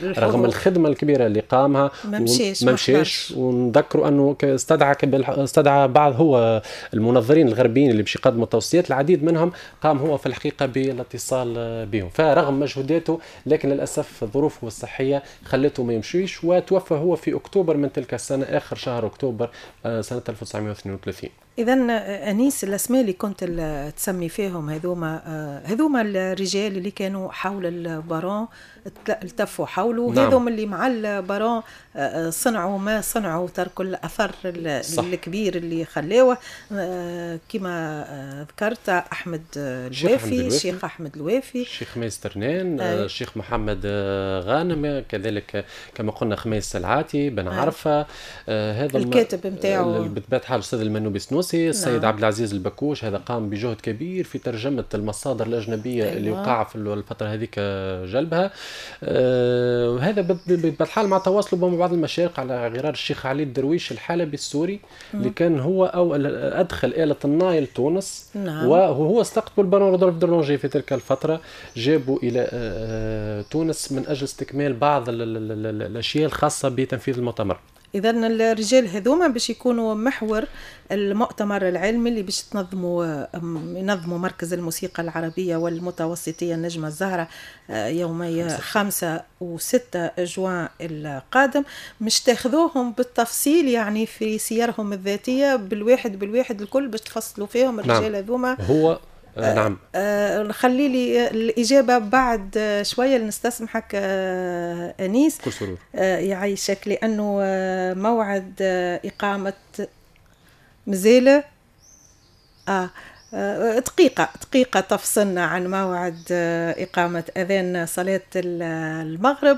رغم الخدمة الكبيرة اللي قامها ما مشاش. ما مشاش. ونذكروا انه استدعى بعض هو المنظرين الغربيين اللي باش يقدموا التوصيات، العديد منهم قام هو في الحقيقة بالاتصال بهم، فرغم مجهوداته لكن للاسف ظروفه الصحية خلته ما يمشيش، وتوفى هو في اكتوبر من تلك السنه، اخر شهر اكتوبر سنة 1932. اذا انيس، الاسماء اللي كنت تسمي فيهم هذوما الرجال اللي كانوا حول البارون، التفوا حوله. هذوما اللي مع البارون صنعوا ما صنعوا، تركوا الاثر الكبير اللي خلاوه، كما ذكرت احمد الوافي، الشيخ احمد الوافي، الشيخ خميس ترنان، الشيخ محمد غانم، كذلك كما قلنا خميس العاتي بن عرفه، هذا الكاتب نتاعو. بطبيعة الحال الاستاذ المنوبي سنوسي، السيد عبد العزيز البكوش، هذا قام بجهد كبير في ترجمه المصادر الاجنبية اللي وقع في الفترة هذيك جلبها. وهذا بطبيعة الحال مع تواصله مع بعض المشارق على غرار الشيخ علي الدرويش الحلبي السوري اللي كان هو او ادخل آلة الناي لتونس. وهو استقطب البارون رودولف دورلونجي في تلك الفترة، جابوا إلى تونس من أجل استكمال بعض الأشياء الخاصة بتنفيذ المؤتمر. اذا الرجال هذوما باش يكونوا محور المؤتمر العلمي اللي باش ينظموا مركز الموسيقى العربية والمتوسطية النجمة الزهرة يومي 5 و6 جوان القادم. مش تاخذوهم بالتفصيل يعني في سيرهم الذاتية بالواحد بالواحد الكل، باش تفصلوا فيهم الرجال هذوما؟ هو نعم. خلي لي الإجابة بعد شوية، نستسمحك أنيس. كل سرور. يعيشك، لأنه موعد إقامة مازال دقيقة دقيقة تفصلنا عن موعد إقامة أذان صلاة المغرب.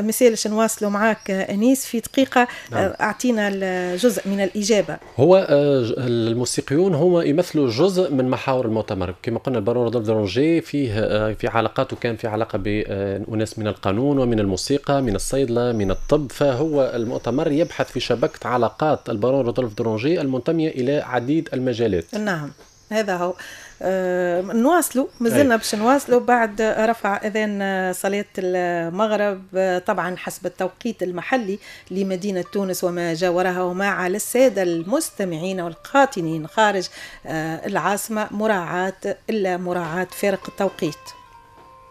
مسالش نواصلوا معاك أنيس في دقيقة. نعم. أعطينا جزء من الإجابة. هو الموسيقيون هم يمثلوا جزء من محاور المؤتمر. كما قلنا، البارون رودولف دورلونجي فيه في علاقاته كان في علاقة بأناس من القانون ومن الموسيقى، من الصيدلة، من الطب، فهو المؤتمر يبحث في شبكة علاقات البارون رودولف دورلونجي المنتمية إلى عديد المجالات. نعم، هذا هو. نواصلوا، مازلنا باش نواصلوا بعد رفع اذان صلاة المغرب، طبعا حسب التوقيت المحلي لمدينة تونس وما جاورها، وما على السادة المستمعين والقاطنين خارج العاصمة مراعاة الا مراعاة فارق التوقيت.